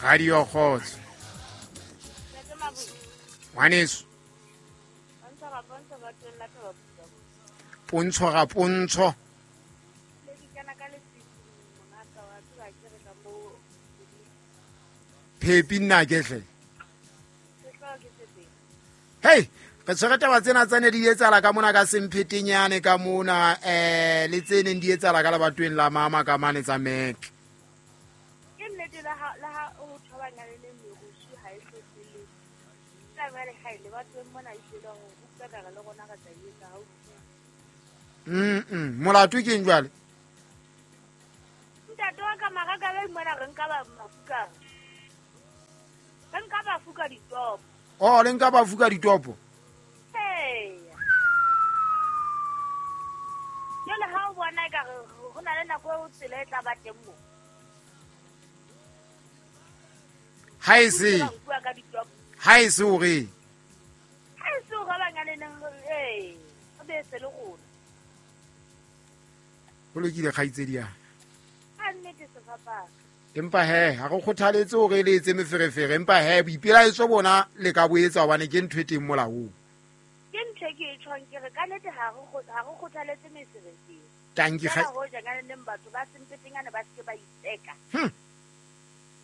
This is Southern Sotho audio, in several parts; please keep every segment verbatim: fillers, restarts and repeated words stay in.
Radio Kgotso. Ngwaneso. Pontsho ga pontsho. Phepi nna ke hle. Hey, re tshwere taba tsena tsa ne di etsahala ka mona ka Semphetenyane ka mona eh le tse neng di etsahala ka lebatoweng la mama ka mane tsa Mac. Ke nnete la ha la ha o thobana le le merusu ha e hlohlele. Tla ba le ha ile batho mona e tshela ho utlwa ka le rona ka tla etsa ha o. Mm mm molato ke eng jwale? Ntate wa ka mara ka be mona re nka ba mafuka. Re nka ba fuka ditopo. Oh, le nka ba fuka ditopo. Hey. Jole ha o bona ka re ho na le nako e o tsela e tla ba teng mo. Ha e se. Ha e se hore. Ha e se hore ba ngane neng eh o be se le rona. Ho lokile kgaitsedi ya. Ha nnete sefapano. Empa he ha re kgothaletse hore le etse meferefere, empa he boipelaetso bona le ka bo etsa hobane ke ntho e teng molaong. Ke ntho e ke e tjhong ke re ka nnete ha re ha re kgothaletse meferefere. Tanki kga hoja ka neng batho ba Semphetenyane ba se ba itseka. Hm.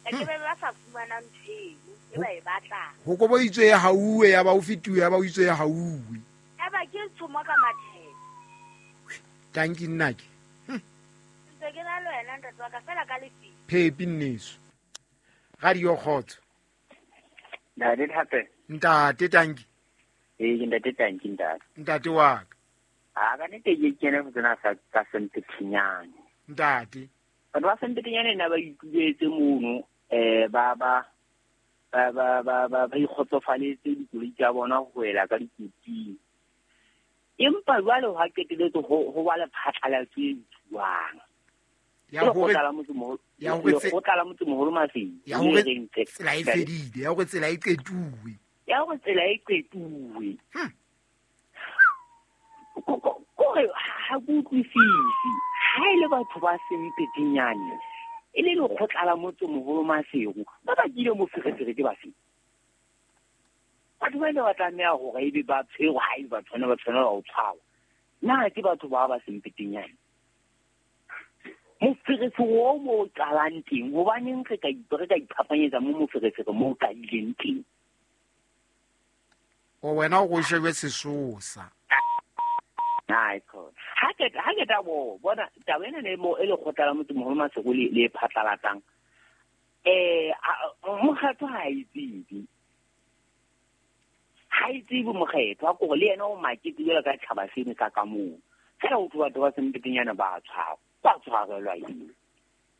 Ke be ba sa fumana ntho eno e ba e batlang. Ho kobo itswe ya hauwe ya ba o fituwe ya ba o itswe ya hauwe. Ya ba ke tshomo ka matheka. Tanki nna ke. Hm. Ntse ke na le wena ntate wa ka fela ka lefi. Phepi nneso. Radio Kgotso. Ntate hape. Ntate tanki. Eh ke ntate tanki ntate. Ntate wa ka. A ka nete ke kene go tsena sa ka Semphetenyane. Ntate. Batho ba Semphetenyane na ba ituletse mono eh ba ba ba ba ba ba ba ikgotsofaletse dikoloi tsa bona ho wela ka dikoting. Empa jwale ha qeteletse ho ho ba le phatlalatso e tsuwang. Ya hore ya hore lekgotla la motsemoholo Maseru ya hore tsela e fedile, ya hore tsela e qetuwe, ya hore tsela e qetuwe. Kore ha ke utlwisise ha e le batho ba Semphetenyane e le lekgotla la motsemoholo Maseru ba bakile moferefere ke bafe? Batho ba ile ba tlameha hore ebe ba tshwerwe ha ebe ba tshwanela ba tshwanela ho tshwarwa. Na ke batho ba ba Semphetenyane? Moferefere o mo o qalang teng, hobaneng re ka re ka iphapanyetsa mo moferefere mo o qadileng teng? O wena o go shebe sesosa. Hai khona. Ha ke ha ke ta bo bona taba ena le mo e lekgotla la motsemoholo Maseru le le phatlalatsang. Eh mokgatlo ha e tsebe. Ha e tsebe mokgetho a kore le yena o makete jwalo ka tjhaba seno sa ka moo. Fela ho batho ba Semphetenyane ba tshwarwa. Ba tshwarelwa eng?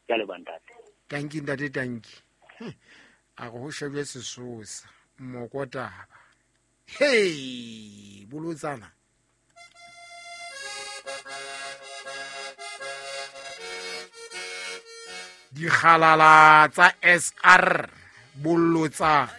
Ke a leboha ntate. Tanki ntate tanki. A re ho shebwe sesosa mokotaba. Hey, bolotsana. Dikgalala tsa S R bolotsana.